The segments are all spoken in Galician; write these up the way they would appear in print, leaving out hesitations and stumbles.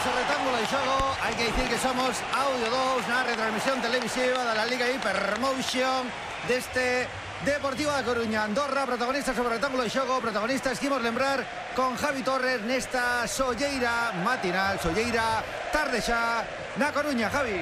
o rectángulo de xogo. Hai que dicir que somos Audio 2 na retransmisión televisiva da la Liga Hypermotion deste Deportivo da Coruña. Andorra, protagonistas sobre o rectángulo de xogo. Protagonistas, quimos lembrar, con Javi Torres nesta solleira matinal, solleira tarde xa na Coruña. Javi.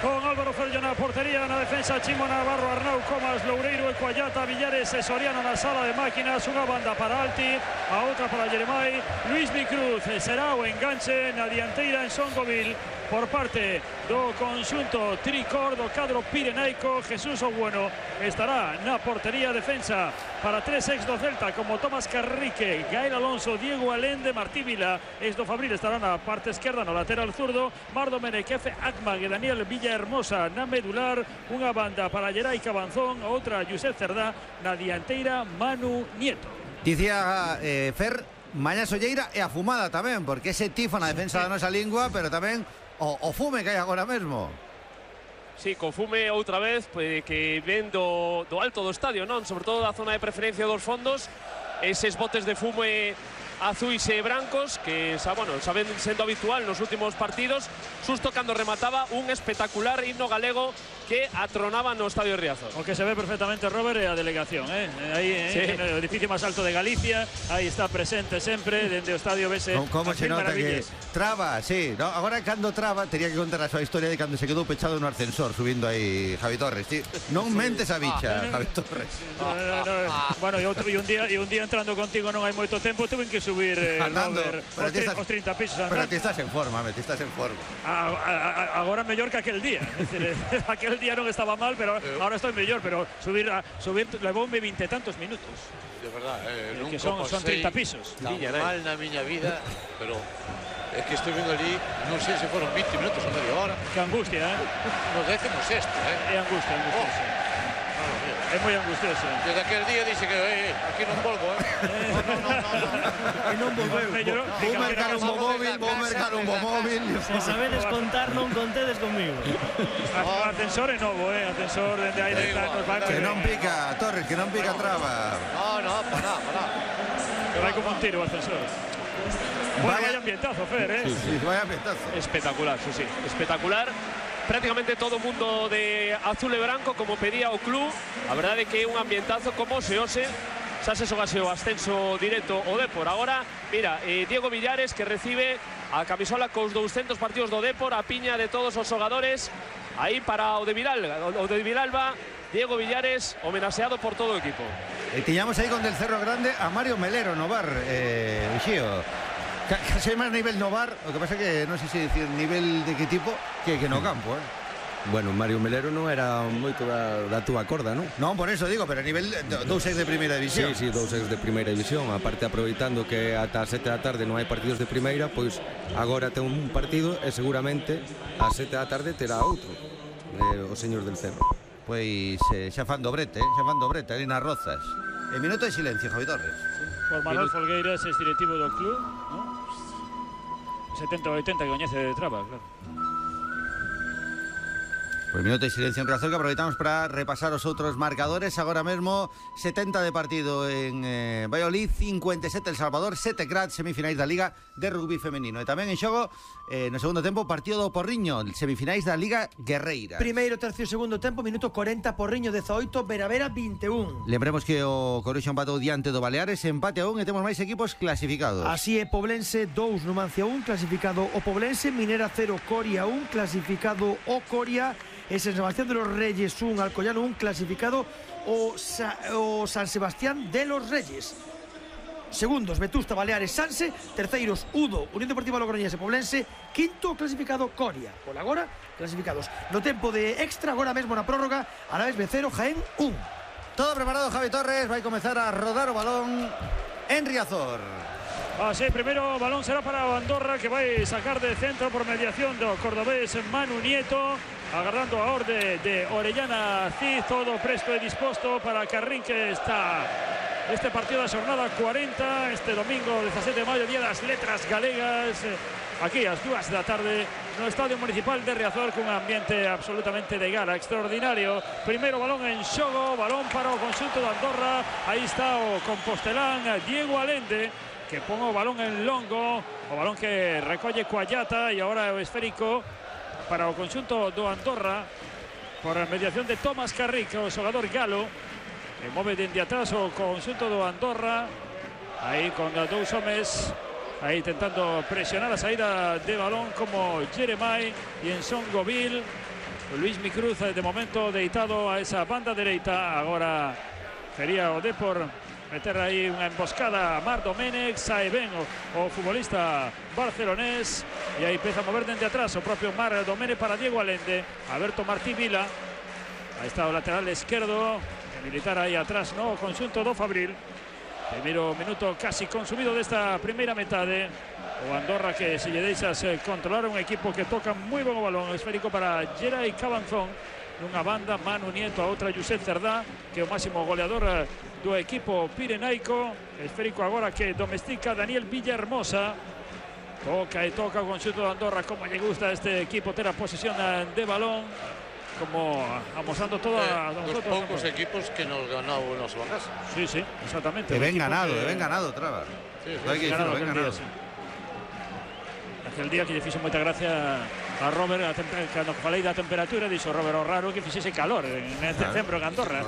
Con Álvaro Ferro na portería, na defensa Chimo Navarro, Arnau Comas, Loureiro, Ecuayata, Villares e Soriano na sala de máquinas. Unha banda para Alti, a outra para Jeremai. Luis Micruz será o enganche na dianteira en Songovil por parte do conxunto tricor do cadro pirenaico. Jesús Obueno estará na portería. Defensa para tres ex do Celta como Tomás Carrique, Gael Alonso, Diego Alende, Martí Vila, ex do Fabril estará na parte esquerda, no lateral zurdo, Mardo Menequefe, Akmag e Daniel Villahermosa na medular. Unha banda para Gerai Cabanzón, outra Josep Cerdá na dianteira, Manu Nieto. Dicía Fer, mañá solleira e a fumada tamén, porque ese tifo na defensa da nosa lingua, pero tamén o fume que hai agora mesmo. Sí, con fume outra vez, pues, que ven do alto do estadio, non? Sobre todo da zona de preferencia dos fondos, eses botes de fume azuis e brancos que saben sendo habitual nos últimos partidos, xusto cando remataba un espectacular himno galego que atronaba no Estadio Riazor. O que se ve perfectamente, Robert, é a delegación, aí sí. No edificio máis alto de Galicia, aí está presente sempre, dende o estadio vese. Como se nota que traba, sí, ¿no? Agora cando traba, tería que contar a súa historia de cando se quedou pechado no ascensor subindo aí Javi Torres, sí. Non mentes a bicha, Javi Torres. Bueno, e un día entrando contigo non hai moito tempo, tuve que subir Robert, os 30 pisos andando. Pero ti estás en forma, Agora mellor que aquel día. Aquel día non estaba mal, pero ahora estoy mellor, pero subir levoume 20 e tantos minutos. De verdad, que son 30 pisos. Tan mal na miña vida, pero é que estou vendo ali, non sei se foron 20 minutos ou media hora. Que angustia, Nos décimos esto, É angustia, sí. É moi angustioso. Desde aquel día dixe que aquí non volvo, E non volveu. Vou mercar un móvil. Se sabedes contar, non contedes conmigo. O ascensor é novo, ascensor dende aí de nos vai. Que non pica, Torres, que non pica traba. No, para. Vai como un tiro o ascensor. Bueno, vaya ambientazo, Fer, Sí, vaya ambientazo. Espectacular, sí, espectacular. Prácticamente todo o mundo de azul e branco, como pedía o club. A verdade é que é un ambientazo como se ose. Xa se xogase o ascenso directo o Depor. Agora, mira, Diego Villares que recibe a camisola cos 200 partidos do Depor, a piña de todos os xogadores. Aí para o de Vilalba, Diego Villares homenaxeado por todo o equipo. E tiñamos aí con del Cerro Grande a Mario Melero no bar, Uxío. Casi máis nivel no bar, o que pasa que non sei se dicir nivel de que tipo que no campo, Bueno, Mario Melero non era moito da túa corda, non? Non, por eso digo, pero a nivel 2-6 de primeira división. Sí, 2-6 de primeira división. Aparte, aproveitando que ata as 7 da tarde non hai partidos de primeira, pois agora ten un partido e seguramente ás 7 da tarde terá outro, o señor del Cerro. Pois xa fan dobrete ali nas Rozas. En minuto de silencio, Javi Torres. Por Manuel Folgueiras, ex directivo do club, ¿no? 70-80 que coñece de traba, claro. Pues minuto de silencio en Riazor que aproveitamos para repasar os outros marcadores. Agora mesmo 70 de partido en Valladolid, 57 El Salvador, 7 Graz, semifinais da Liga de Rugby Femenino. E tamén en xogo, no segundo tempo, partido do Porriño, semifinais da Liga Guerreira. Primeiro, tercio, segundo tempo, minuto 40, Porriño 18, Veravera 21. Lembremos que o Coruxo empatou diante do Baleares, empate a 1 e temos máis equipos clasificados. Así é, Poblense 2, Numancia 1, clasificado o Poblense, Minera 0, Coria 1, clasificado o Coria, e San Sebastián de los Reyes 1, Alcoyano 1, clasificado o San Sebastián de los Reyes. Segundos, Vetusta, Baleares, Sanse. Terceiros, Udo, Unión Deportiva Logroñés e Poblense. Quinto, clasificado Coria. Por agora, clasificados. No tempo de extra, agora mesmo na prórroga, Alavés B0, Jaén 1. Todo preparado, Javi Torres. Vai comezar a rodar o balón en Riazor. Sí, primeiro balón será para o Andorra, que vai sacar de centro por mediación do cordobés Manu Nieto, agardando a orde de Orellana Cid, todo presto e disposto para que arrinque este partido da xornada 40, este domingo 17 de maio, día das letras galegas, aquí ás 2 da tarde no Estadio Municipal de Riazor, cun ambiente absolutamente de gala, extraordinario. Primeiro balón en xogo, balón para o conxunto de Andorra, aí está o compostelán Diego Alende, que ponga o balón en longo, o balón que recolle Coallata, e agora o esférico para o conxunto do Andorra por a mediación de Tomás Carrico, o xogador galo, que move dende atrás o conxunto do Andorra, aí con dous homes aí intentando presionar a saída de balón como Jeremai e Enson Govil. Luismi Cruz de momento deitado a esa banda dereita. Agora quería o Depor meter aí unha emboscada a Mar Domenech. Sae ben o futbolista barcelonés e aí empeza a mover dende atrás o propio Mar Domenech para Diego Allende. Alberto Martí Vila, aí está o lateral esquerdo, militar aí atrás no conxunto do Fabril. Primeiro minuto casi consumido desta primeira metade. O Andorra que se lle deixas controlar un equipo que toca moi bon o balón. Esférico para Geray Cabanzón nunha banda, Manu Nieto, a outra Josep Cerdá, que é o máximo goleador do equipo pirenaico. Esférico agora que domestica Daniel Villahermosa. Toca e toca o conxunto de Andorra. Como lle gusta a este equipo ter a posesión de balón, como amosando toda los pocos equipos que nos ganó en su casa. Sí, sí, exactamente. De ben ganado, Traba. Sí, Hai que dicirlo, ben ganado. Aquel día que lle fixo moita gracia a Robert, cando falei da temperatura, dixo Robert, o raro que fixese calor en decembro en Andorra.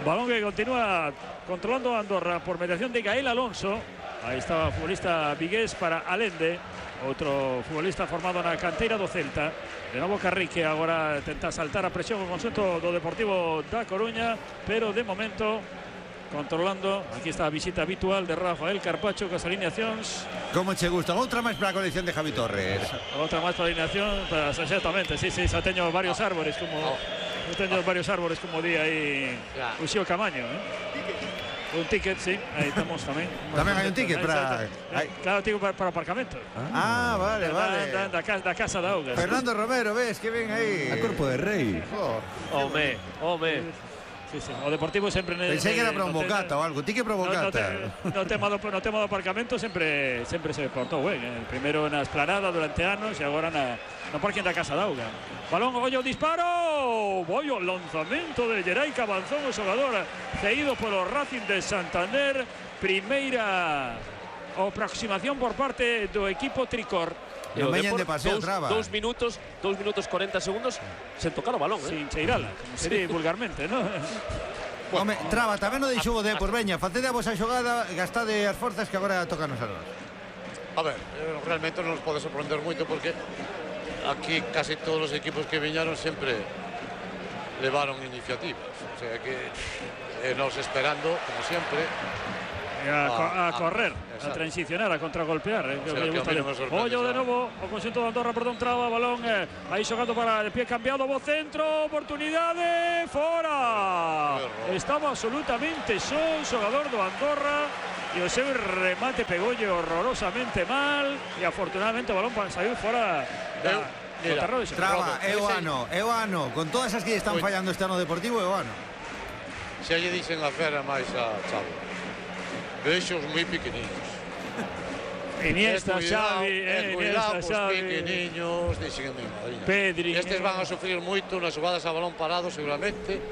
Balón que continúa controlando Andorra por mediación de Gael Alonso. Aí está o futbolista vigués para Allende, outro futbolista formado na canteira do Celta. De novo Carrique, agora tenta saltar a presión o conxunto do Deportivo da Coruña, pero de momento controlando. Aquí está a visita habitual de Rafael Carpacho con as alineacións. Como che gusta? Outra máis para a colección de Javi Torres. Outra máis para a alineación, exactamente, sí, xa teño varios árboles como di aí Uxío Camaño, un ticket, sí, aí estamos tamén. Tamén hai un ticket para... Claro, ticket para aparcamento. Vale. Da Casa da Augas. Fernando Romero, ves que ven aí. A Corpo de Rei. Home. Sí. O Deportivo sempre... Pensei que era para un bocata ou algo, ticket para un bocata. No tema do aparcamento sempre se portou ben. Primeiro na esplanada durante anos e agora no parking da Casa da Auga. Balón, ollo, disparo! Ollo, lanzamento de Geray Cabanzón, o xogador cedido polo Racing de Santander. Primeira aproximación por parte do equipo tricor. No meñen de paseo, Traba. 2 minutos 40 segundos sen tocar o balón. Sin cheirala, como se di vulgarmente, ¿no? Home, Traba, tamén o deixou o Depor. Veña, facede a vosa xogada, gastade as forzas que agora tocan os armas. A ver, realmente non nos pode sorprender moito porque aquí casi todos os equipos que viñaron sempre levaron iniciativas. O sea que nos esperando, como sempre, a correr, a transicionar, a contragolpear. Ollo de novo, o conxunto de Andorra, perdón, Traba, balón aí xogando para de pie cambiado, bo centro, oportunidade, fora. Estaba absolutamente só o xogador do Andorra e o seu remate pegolle horrorosamente mal e afortunadamente o balón saiu fora do terreno de Traba, é o ano, con todas as que están fallando este ano Deportivo, é o ano. Se lle dicen a fera máis a Chavo. Vexos moi pequeniños. Iniesta, Xavi, Iniesta, Xavi. Pequeniños, dixen a mi madriña. Pedri. Estes van a sufrir moito nas xogadas a balón parado seguramente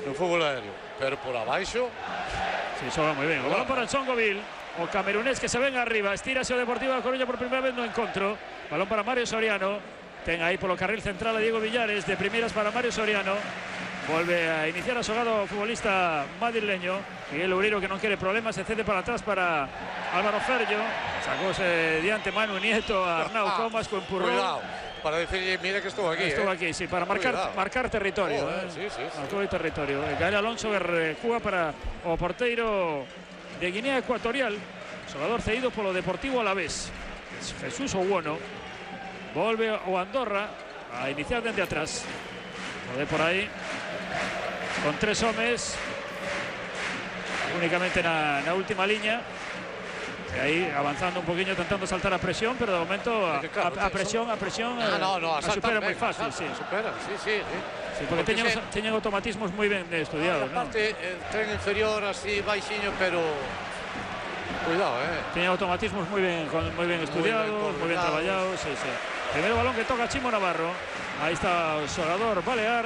no fútbol aéreo, pero por abaixo... Sí, xoga moi ben. O balón para Enson Govil, o camerunés que se ven arriba, estírase o Deportivo da Coruña por primeira vez no encontro. Balón para Mario Soriano, ten aí polo carril central a Diego Villares, de primeiras para Mario Soriano. Volve a iniciar a xogada o futbolista madrileño. Miguel Loureiro, que non quere problemas, se cede para atrás para Álvaro Ferllo. Sacóse diante Manu Nieto a Arnau Comas con empurrón. Cuidado, para decirle, mira que estou aquí. Estou aquí, sí, para marcar territorio. Sí. Marcou o territorio. Gael Alonso que recúa para o porteiro de Guinea Ecuatorial. Xogador cedido polo Deportivo Alavés. Jesús Owono. Volve o Andorra a iniciar dende atrás. Pode por aí con 3 homes únicamente na última liña e aí avanzando un poquinho, tentando saltar a presión, pero de momento a presión a supera moi fácil. Sí, porque teñen automatismos moi ben estudiados. Aparte, tren inferior así baixinho, pero cuidado, teñen automatismos moi ben estudiados, moi ben traballados. Sí. Primeiro balón que toca Chimo Navarro. Aí está o xogador balear.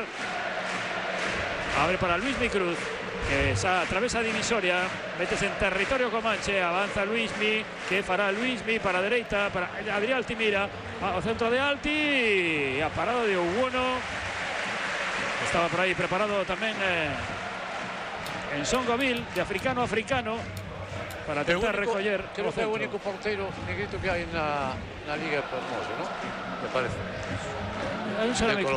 Abre para Luismi Cruz. que atravesa a divisoria, métese en territorio comanche, avanza Luismi, que fará Luismi para a dereita, para Adrián Altimira, ao centro de Alti, e a parada de Uwono. Estaba por aí preparado tamén en Songoville, de africano a africano, para tentar recoller. Creo que é o único porteiro negrito que hai na Liga Hermoso, ¿no? Me parece.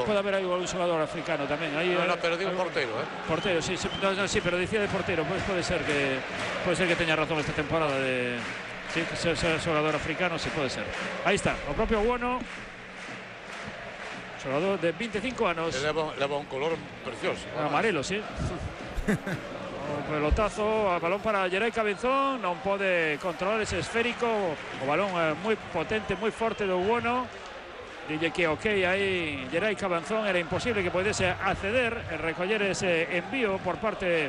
Puede haber aí un xogador africano tamén. No, pero digo porteiro, Porteiro, sí, sí, pero decía de porteiro, pues puede ser que teña razón esta temporada de sí, que sea xogador africano, sí puede ser. Aí está, o propio Uwono, xogador de 25 anos. Leva un color precioso. Amarelo, sí. O pelotazo, a balón para Geray Cabezón, non pode controlar ese esférico, o balón moi potente, moi forte do Uwono. Dille que ok, aí Geray Cabezón era imposible que podese acceder e recoller ese envío por parte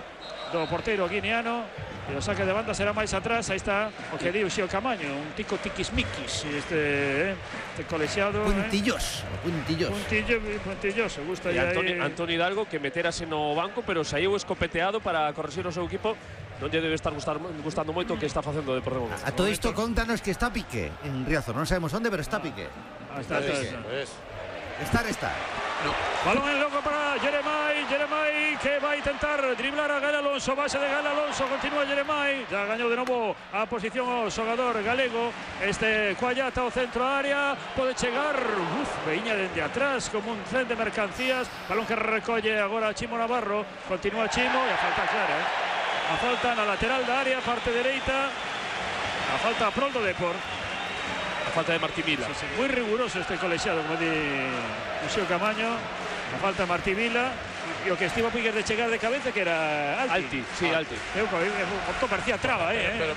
do porteiro guineano, e o saque de banda será máis atrás. Aí está o que di o Xio Camaño, un tico tiquismiquis, este colexiado. Puntilloso. Puntilloso, gusta e aí. Antoni Hidalgo, que meterase no banco, pero saiu escopeteado para corregir o seu equipo. Non lle debe estar gustando moito o que está facendo o Deportivo. A todo isto contanos que está Piqué en Riazor, non sabemos onde, pero está Piqué. Está. Está. No. Balón en loco para Jeremai, que va a intentar driblar a Gael Alonso, base de Gael Alonso, continúa Jeremai, ya gañou de novo a posición o xogador galego, este Cuallata o centro área, pode chegar, veña dende atrás como un tren de mercancías, balón que recolle agora Chimo Navarro, continúa Chimo e a falta clara, a falta na lateral da área, parte dereita, a falta prol do Depor. Falta de Martí Vila. Sí, muy riguroso este colexiado, como di Xio Camaño. La falta de Martí Vila. E o que estivo Piquer de chegar de cabeza, que era Alti. Sí, Alti. Porto parecía traba, Pero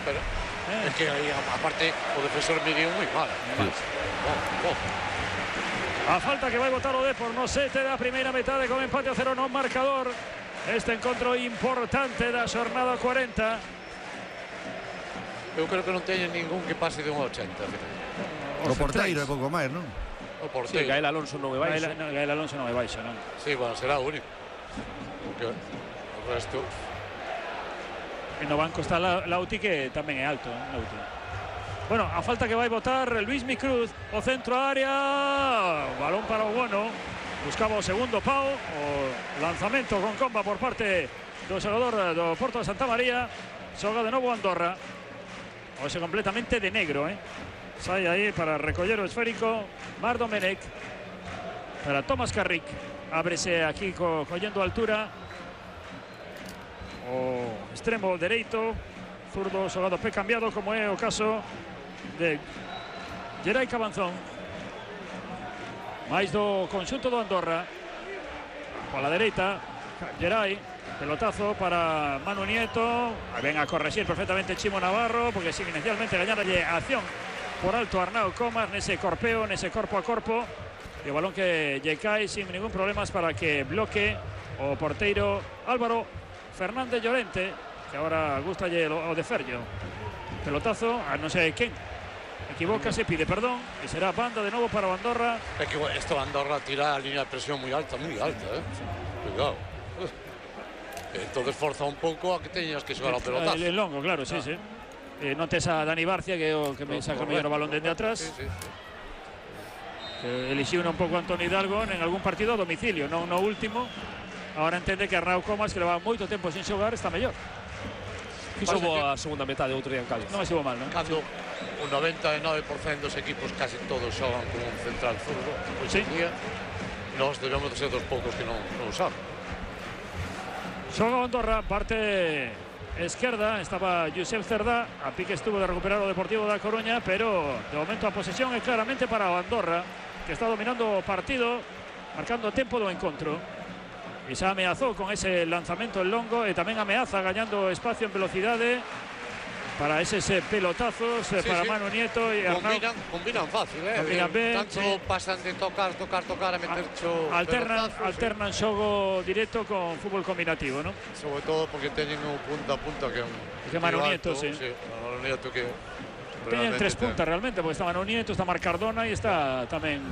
es que aí, aparte, o defensor midiu moi mal. A falta que vai botar o Depor no sete da primeira metade con empate a 0 no marcador. Este encontro importante da xornada 40. Eu creo que non teñen ningún que pase de un 80. O porteiro é pouco máis, non? O porteiro. Sí, Gael Alonso non é baixo. Gael Alonso non é baixo, non? Sí, bueno, será o único. Porque o resto... E no banco está Lauti, que tamén é alto, Lauti. Bueno, a falta que vai botar Luismi Cruz, o centro área, balón para o Uwono, buscaba o segundo pau, o lanzamento con comba por parte do xogador do Porto de Santa María, xoga de novo Andorra, hoxe completamente de negro, sai aí para recoller o esférico Mar Domenech para Tomás Carrick, ábrese aquí collendo altura o extremo dereito, zurdo xogado pé cambiado, como é o caso de Geray Cabezón, máis do conxunto do Andorra. Pola dereita Geray, pelotazo para Manu Nieto, ven a corregir perfectamente Chimo Navarro, porque sin inicialmente gañarlle a acción por alto Arnau Comas nese corpeo, nese corpo a corpo, e o balón que lle cae sin ningún problema para que bloque o porteiro Álvaro Fernández Llorente, que agora gustalle o de Ferllo. Pelotazo a non sei quen, equivócase, pide perdón, e será banda de novo para o Andorra. É que esto Andorra tira a línea de presión moi alta, cuidado. Entonces forza un pouco a que teñas que xogar ao pelotazo. El longo, claro, sí. Notes a Dani Barcia, que é o que me saca mellor o balón dende atrás. Sí. Elixiu un pouco Antoni Hidalgo en algún partido a domicilio, non no último. Agora entende que Arnau Comas, que leva moito tempo sin xogar, está mellor. Fixo a segunda metade outro día en Cádiz. Non estivo mal, non? Cando un 99% dos equipos casi todos xogan con un central zurdo, hoxe día nós debemos de ser dos poucos que non usamos. Xoga Andorra, parte esquerda, estaba Josep Cerdá, a pique estuvo de recuperar o Deportivo da Coruña, pero de momento a posesión é claramente para o Andorra, que está dominando o partido, marcando o tempo do encontro. E xa ameazou con ese lanzamento en longo, e tamén ameaza gañando espacio en velocidade para eses pelotazos para Manu Nieto e Arnau. Combinan fácil, Combinan ben, tanto pasan de tocar a meter alternan xogo directo con fútbol combinativo, ¿no? Sobre todo porque teñen un punta a punta que Manu Nieto, sí. Manu Nieto que teñen tres puntas realmente, porque está Manu Nieto, está Marc Cardona e está tamén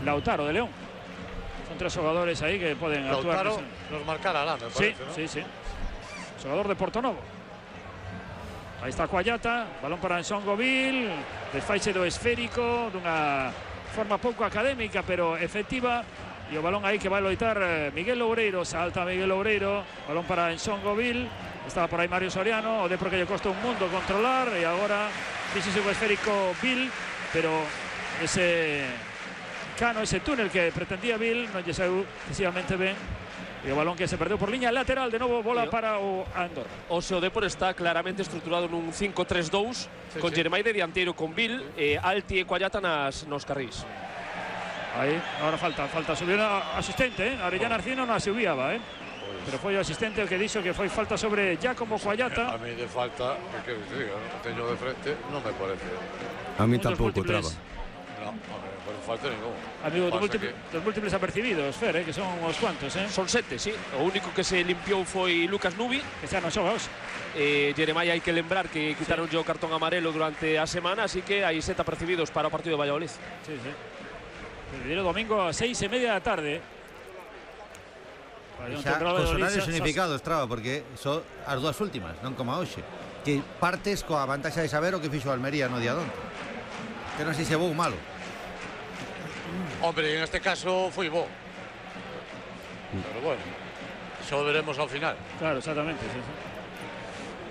Lautaro de León. Son tres xogadores aí que poden actuar. Lautaro nos marcará, me parece, sí, ¿no? Sí. xogador de Portonovo. Aí está Coallata, balón para Nsongoville, desfaixe do esférico dunha forma pouco académica pero efectiva, e o balón aí que vai loitar Miguel Loureiro, salta Miguel Loureiro, balón para Nsongoville, estaba por aí Mario Soriano, o Depor que lle costa un mundo controlar, e agora fíxese o esférico Bill, pero ese cano, ese túnel que pretendía Bill non lle saiu excesivamente ben. E o balón que se perdeu por liña lateral, de novo bola para o Andorra. O seu Depor está claramente estruturado nun 5-3-2, con Jeremai de dianteiro, con Bill, Alti e Coallata nos carrís. Aí, agora falta subir a asistente, Arellano Arcino non a subiaba, pero foi o asistente o que dixo que foi falta sobre Giacomo Coallata. A mí de falta, que diga, teño de frente, non me parece. A mí tampouco, Traba. No, non falta ningún. Amigo, dos múltiples apercibidos, Fer, que son uns cuantos, Son 7, sí. O único que se limpiou foi Lucas Nubi, que xa non xoga hoxe. Jeremai hai que lembrar que quitaron o cartón amarelo durante a semana, así que hai 7 apercibidos para o partido de Valladolid. Sí. El domingo a 6:30 da tarde. Xa, cos horarios significados, Traba, porque son as dúas últimas, non como hoxe, que partes coa vantaxa de saber o que fixo Almería no día de onte, que non sei se bo ou malo. Hombre, en este caso foi bo, pero bueno, xa o veremos ao final. Claro, exactamente, sí.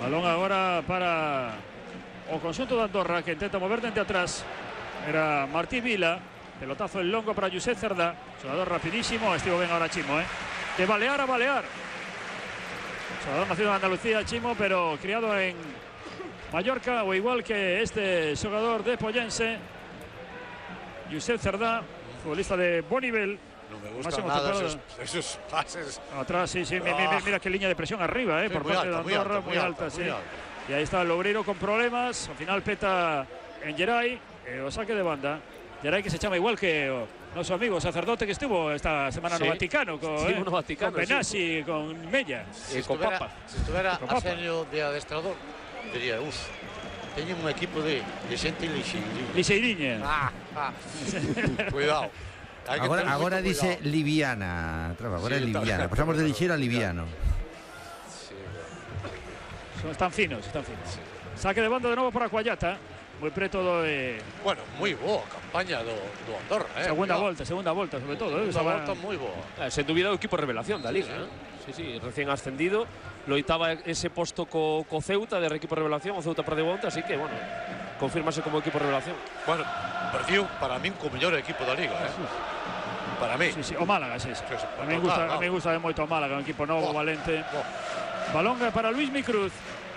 Balón agora para o conxunto de Andorra, que intenta mover dende atrás. Era Martí Vila, pelotazo en longo para Josep Cerdá, xogador rapidísimo, estivo ben ahora Chimo, de balear a balear. Xogador nacido en Andalucía, Chimo, pero criado en Mallorca, o igual que este xogador de Pollense, Josep Cerdá, futbolista de Bonivel. No me gusta nada esos pases. Atrás, sí, mira qué línea de presión arriba, sí, por parte de Andorra, muy alta, sí. Y ahí está Loureiro con problemas, al final peta en Geray, o saque de banda. Geray que se llama igual que nuestro amigo sacerdote que estuvo esta semana en el Vaticano, con Benassi, sí, con Mella, con Papa. Si estuviera Arsenio de adestrador, diría, teñen un equipo de xente lixeiriña. Cuidado. Agora dice liviana, Traba, agora é liviana. Pasamos de lixeiro a liviano. Están finos. Saque de banda de novo para Coallata. Moi preto do... Bueno, moi boa campaña do Andorra, Segunda volta, sobre todo. Segunda volta moi boa. Sen dúbida o equipo revelación da Liga, Sí, recién ascendido. Loitaba ese posto co Ceuta de equipo revelación, o Ceuta perdeu onte, así que, bueno, confírmase como equipo revelación. Bueno, perdiu para min co mellor equipo da Liga, Para mí. Sí, o Málaga, sí. A mí me gusta moito o Málaga, un equipo novo, valente. Balón para Luismi Cruz.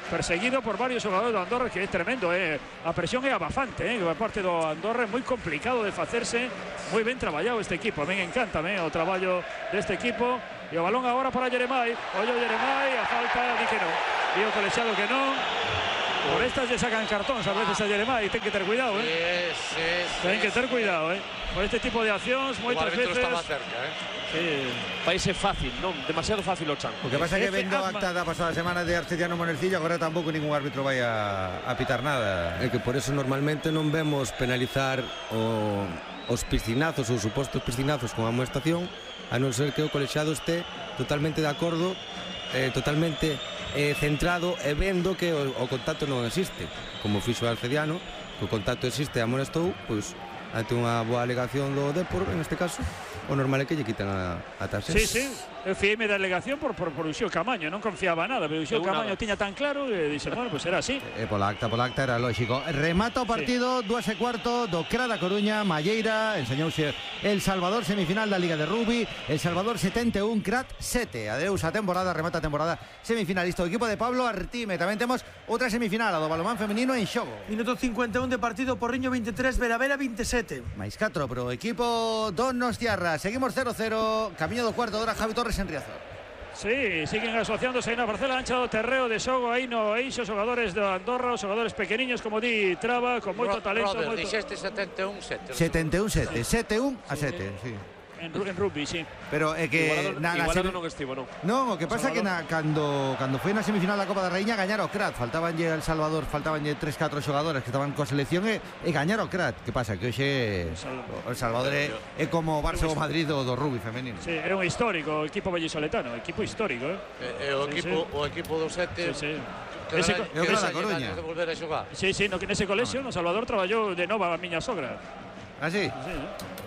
Perseguido por varios xogadores do Andorra, que é tremendo, a presión é abafante, por parte do Andorra é moi complicado de facerse, moi ben traballado este equipo, a mí encanta o traballo deste equipo, e o balón agora para Jeremai, Jeremai, a falta, di que non, di o colexiado que non, por estas lle sacan cartóns a veces a Jeremai, ten que ter cuidado, ten que ter cuidado, por este tipo de accións, moitas veces... estaba cerca, Sí, vai ser fácil, non demasiado fácil o chan. O que pasa é que vendo a acta da pasada semana de Arcediano Monercillo, agora tampouco ningún árbitro vai a pitar nada. É que por eso normalmente non vemos penalizar os piscinazos ou supostos piscinazos con a amonestación, a non ser que o colexiado este totalmente de acordo, totalmente centrado e vendo que o contacto non existe, como fixo o Arcediano, que o contacto existe e amonestou, pois ante unha boa alegación do Depor, en este caso, o normal é que lle quitan a tarxeta. Sí, eu fiei-me da alegación por Uxío Camaño, non confiaba nada, pero Uxío Camaño tiña tan claro que dixe, bueno, pues era así. Pola acta era lógico. Remata o partido, 2:15 do Cra da Coruña, Malleira, enseñouse El Salvador, semifinal da Liga de Rugby, El Salvador 71, Crat 7. Adeus a temporada, remata a temporada semifinalista o equipo de Pablo Artime. Tamén temos outra semifinal, a do balonmán femenino en xogo. Minuto 51 de partido, Porriño 23, Veravera 27. Mais 4 pro equipo Donostiarra. Seguimos 0-0, camiño do cuarto de hora, Javi Torres en Riazor. Sí, siguen asociándose aí na parcela ancha do terreo de xogo, aí no eixo, xogadores de Andorra, os xogadores pequeniños, como di Traba, con moito talento. Dixeste 71-7. 71-7, 7-1 a 7, sí. en rugby, sí. Pero é que igualado non estivo, non. Non, o que pasa é que cando foi na semifinal da Copa da Raíña gañaron o Crat, faltabanlle al Salvador, faltabanlle 3-4 xogadoras que estaban coa selección e gañaron o Crat. Que pasa? Que hoxe o Salvador é como o Barça ou Madrid do rugby femenino. Sí, era un histórico equipo vallisoletano, equipo histórico, O equipo do 7 que é o Crat da Coruña. De volver a xogar. Sí, nese colexio no Salvador traballou de nova a miña sogra. Ah, sí?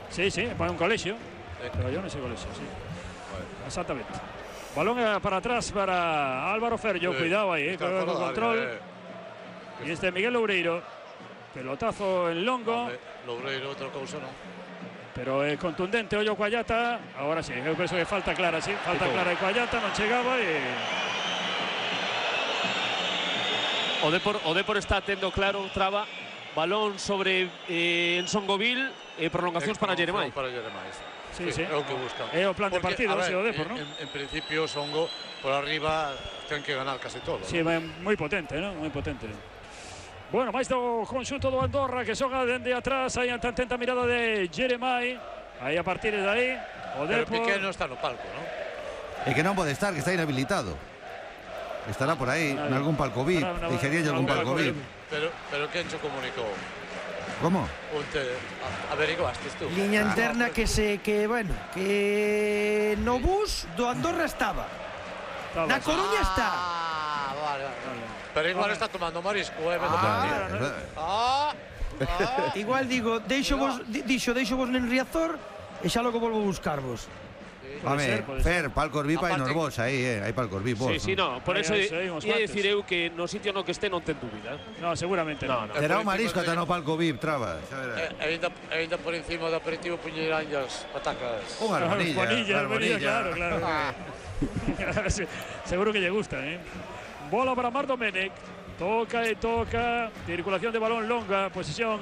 Sí, para un colexio. Traballou nese colexio, sí. Exactamente. Balón para atrás para Álvaro Ferllo, cuidado aí, con el control. Y Miguel Loureiro, pelotazo en longo. Loureiro, outra cousa non. Pero contundente, ollo Coallata. Ahora sí, eu penso que falta clara, sí. Falta clara de Coallata, non chegaba e... O Depor está tendo claro, traba, balón sobre Ensongovil e prolongacións para Jeremai. Sí. É o que buscan. É o plan de partido, porque, o Depor, non? En principio, Songo, por arriba, ten que ganar casi todo. Sí, moi potente, non? Moi potente. Bueno, máis do conxunto do Andorra que xoga dende atrás, aí ante atenta mirada de Jeremai. Aí a partir de aí, o Depor... Pero Piqué non está no palco, non? É que non pode estar, que está inhabilitado. Estará por aí, en algún palco VIP, deixaría algún palco VIP. Pero quen cho comunicou? Como? Averiguastes tú? Liña interna que no bus do Andorra estaba. Na Coruña está. Vale. Pero igual está tomando marisco, Igual digo, deixo vos en Riazor e xa logo volvo a buscarvos. Home, Fer, palcos VIP hai nos vos aí, hai palcos VIP vos. Sí, no, por eso ia dicir eu que no sitio no que este non ten dúbida. No, seguramente non. Será un marisco ata no palco VIP, traba. Ainda por encima do aperitivo puñerán as patacas. Unha armonilla, claro. Seguro que lle gusta, Bola para Mar Domenech. Toca, circulación de balón longa, posesión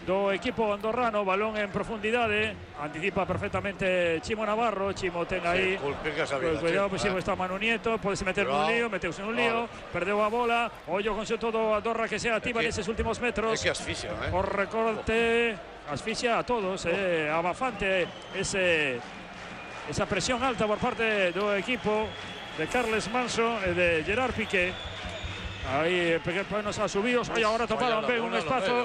do equipo andorrano, balón en profundidade, anticipa perfectamente Chimo Navarro. Chimo ten aí, cuidado, está Manu Nieto, podese meter nun lío, meteuse nun lío, perdeu a bola, ollo con todo Andorra que se activa neses últimos metros. É que asfixia, o recorte, asfixia a todos, abafante esa presión alta por parte do equipo de Carles Manso e de Gerard Piqué. Aí pequenos asubidos, agora toparon ben un espazo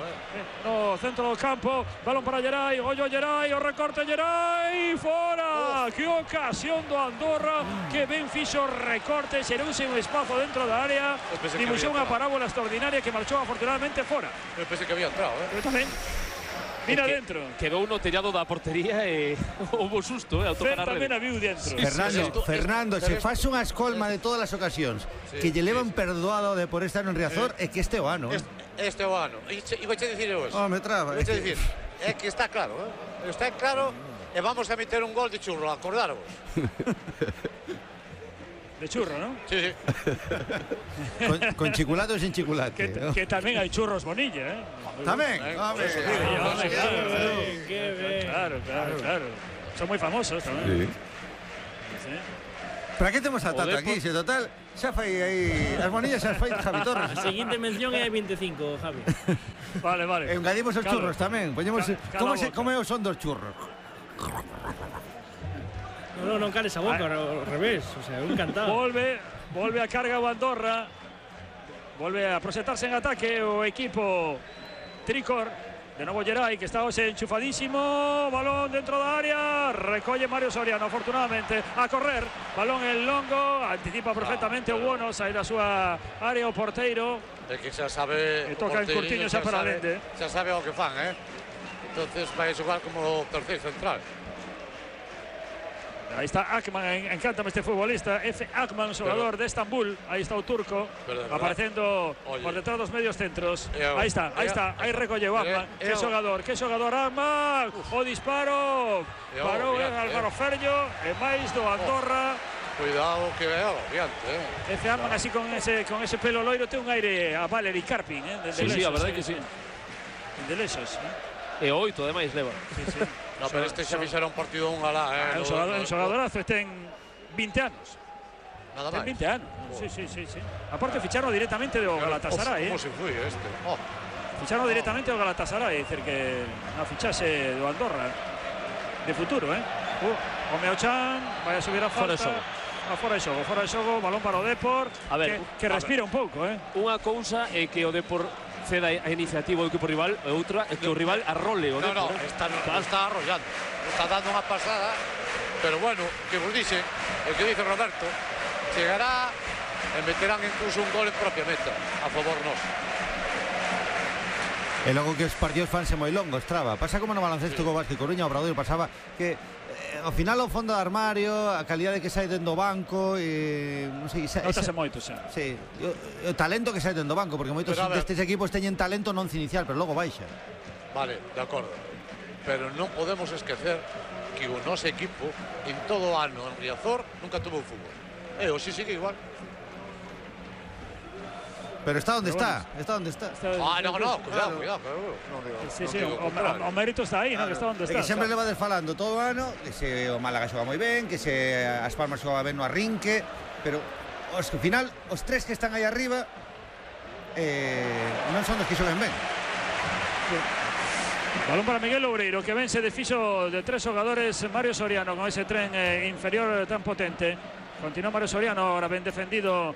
no centro do campo, balón para Gerai, ollo Gerai, o recorte Gerai, fora! Que ocasión do Andorra, que ben fixo recorte, xerouse un espazo dentro da área, dibuixou unha parábola extraordinaria que marchou afortunadamente fora. Eu pensei que había entrado, Eu tamén. Mira dentro. Quedou no tellado da portería e houve susto, Fer tamén a viu dentro. Fernando, se faz unha escolma de todas as ocasións que lle levan perdoado de por estar en Riazor, é que este o ano. Este o ano. E vou che dicir eu eso. Me traba. Vou che dicir, é que está claro, Está claro e vamos a meter un gol de churro, acordaros. De churro, ¿no? Sí. Con chiculate ou sin chiculate. Que tamén hai churros Bonilla, Tamén. Claro. Son moi famosos tamén. Para que temos a Tata aquí? Se total, xa fai aí as Bonillas, xa fai Javi Torres. A seguinte mención é 25, Javi. Vale. E engadimos os churros tamén. Poñemos como é o son dos churros. Non cales a boca, ao revés, o sea, encantado. Volve a carga o Andorra. Volve a proxectarse en ataque o equipo Tricor. De novo Gerai, que está hoxe enchufadísimo. Balón dentro da área. Recolle Mario Soriano, afortunadamente. A correr. Balón en longo. Anticipa perfectamente o Buono. Sai da súa área o porteiro. É que xa sabe... E toca en Curtiño xa para Lende. Xa sabe o que fan, Entonces vai xogar como terceiro central. Ahí está Akman, encántame este futbolista, Efe Akman, xogador de Estambul. Ahí está o turco, aparecendo por detrás dos medios centros. Ahí está, aí recolleu Akman. Que xogador Akman, o disparo. Parou Álvaro Ferllo, e máis do Andorra. Cuidado que é agobiante, Efe Akman así con ese pelo loiro, ten un aire a Valery Karpin, Sí, a verdade que sí. De lexos, E 8 ademais leva. Sí. No, pero este xa fixera un partido un galá, Un xogadorazo, ten 20 anos. Nada máis. Ten 20 anos, sí. Aparte ficharon directamente do Galatasaray, Como se foi este? Ficharon directamente do Galatasaray, é dicir que a fichase do Andorra. de futuro, O Meochan vai a subir a falta. Fora de xogo, balón para o Depor, a ver, que respira un pouco, Unha cousa é que o Depor ceda a iniciativa do equipo rival, e outra é que o rival arrole o Depor. Está arrollando, está dando unha pasada, pero bueno, que vos dice, o que dice Roberto, chegará e meterán incluso un gol en propia meta a favor noso. E logo que os partidos fanse moi longos, traba. Pasa como no baloncesto co Vázquez Coruña, o Obradoiro pasaba que ao final o fondo do armario, a calidade que sai dentro do banco, non sei, notase moito xa. Sí, o talento que sai dentro do banco, porque moitos destes equipos teñen talento non inicial, pero logo baixa. Vale, de acordo. Pero non podemos esquecer que o noso equipo en todo o ano en Riazor nunca tuvo fútbol. E hoxe sigue igual. Pero está onde está, cuidado. O mérito está aí, que está onde está. Que sempre leva desfalando todo o ano, que se o Málaga xoga moi ben, que se as Palmas xoga ben no arrinque, pero ao final os tres que están aí arriba non son os que xogan ben. Balón para Miguel Loureiro, que ven se desfixo de 3 xogadores. Mario Soriano con ese tren inferior tan potente. Continúa Mario Soriano, ahora ben defendido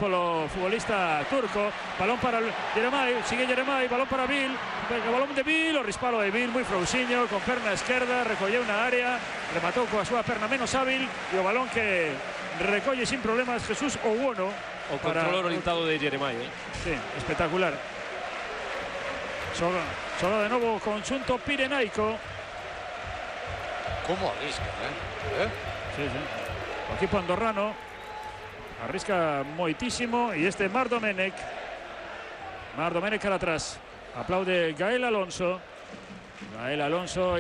polo futbolista turco. Balón para Jeremai, sigue Jeremai, balón para Bill, balón de Bill, o rispalo de Bill, moi frouxiño, con perna esquerda, recolleu na área, rematou coa súa perna menos hábil, e o balón que recolle sin problemas Jesús Ouono. O control orientado de Jeremai. Sí, espectacular. Xoga de novo conxunto pirenaico. Como arrisca, Sí. O equipo andorrano arrisca moitísimo, e este Marc Domenech cara atrás, aplaude Gael Alonso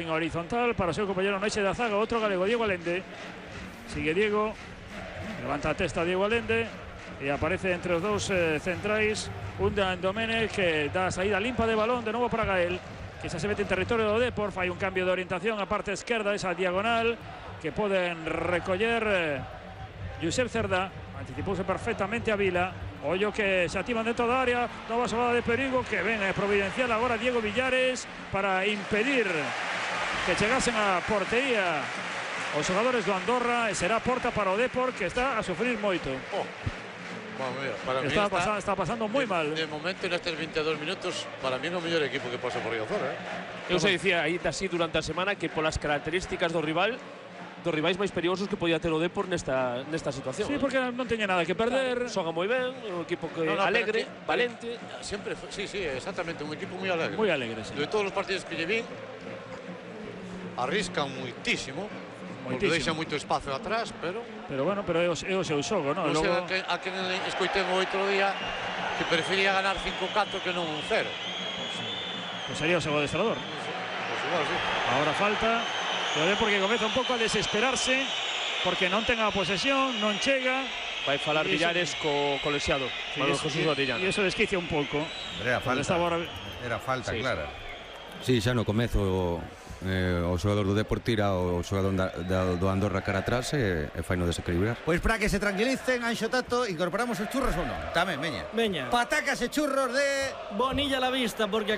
en horizontal para o seu compañero no eixe da zaga, outro galego, Diego Allende. Sigue Diego, levanta a testa Diego Allende e aparece entre os dous centrais un de Domenech, que dá a saída limpa de balón de novo para Gael, que xa se mete en territorio do Depor. Fai un cambio de orientación a parte esquerda, esa diagonal que poden recoller Josep Cerdá. Anticipouse perfectamente a Vila. Ollo que se activan dentro da área, nova xogada de perigo que ven providencial agora Diego Villares para impedir que chegasen a portería os xogadores do Andorra, e será porta para o Depor, que está a sufrir moito. Está pasando moi mal. De momento, nestes 22 minutos, para mí é o mellor equipo que pasa por Riazor. Eu se dicía aí así durante a semana que polas características dos rivais máis perigosos que podía ter o Depor nesta situación. Sí, porque non teña nada que perder. Xoga moi ben, un equipo que alegre, valente. Sempre, sí, exactamente, un equipo moi alegre. Moi alegre, sí. De todos os partidos que lle vi, arriscan moitísimo, porque deixa moito espazo atrás, pero bueno, pero é o seu xogo, non? Non sei a quen escoitei o outro día que prefería ganar 5-4 que non un 0. Pues sería o seu adestrador. Pues igual, sí. Ahora falta, lo ve porque comeza un pouco a desesperarse, porque non ten a posesión, non chega. Vai falar Villares co lexiado, Manuel Jesús Orellana. E iso desquicia un pouco. Era falta, clara. Sí, xa no comezo o xogador do Depor tira o xogador do Andorra cara atrás e fai no desequilibrar. Pois para que se tranquilicen, Anxo Tato, incorporamos os churros ou non? Tamén, veña. Veña. Patacas e churros de Bonilla a la vista, porque